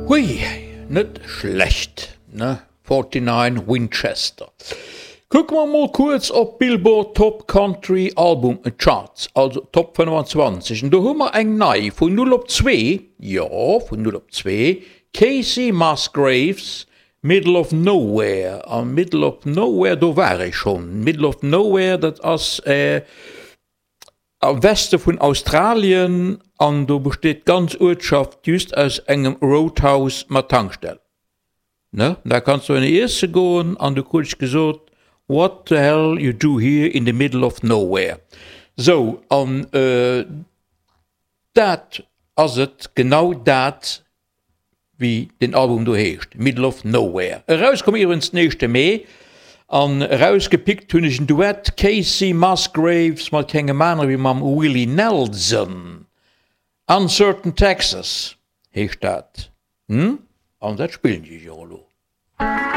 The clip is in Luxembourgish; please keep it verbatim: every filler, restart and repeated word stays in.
Hui, net schlecht, ne? Forty-Nine Winchester. Kucke mer mol kuerz op d'Billboard Top Country Album Charts, also Top fënnefenzwanzeg. An do hu mer eng nei, vun null op zwee, jo, vun null op zwee, Kacey Musgraves, Middle of Nowhere. A Middle of Nowhere, do war ech schonn. Middle of Nowhere, dat ass am Weste vun Australien an do besteet d'ganz Uertschaft just aus engem Roadhouse mat Tankstell. Ne? Da kanns du ënne iesse goen an du krut ech gesot, What the hell you do here in the middle of nowhere? Sou, an dat ass et, genau dat, wéi den Album do heescht, Middle of Nowhere. Erauskomm iwwerens den éischte Mee an erausgepickt hunn ech en Duett, Kacey Musgraves mat kengem anere wéi mam Willie Nelson. Uncertain Texas heescht dat. Hm? An dat spillen ech iech och elo.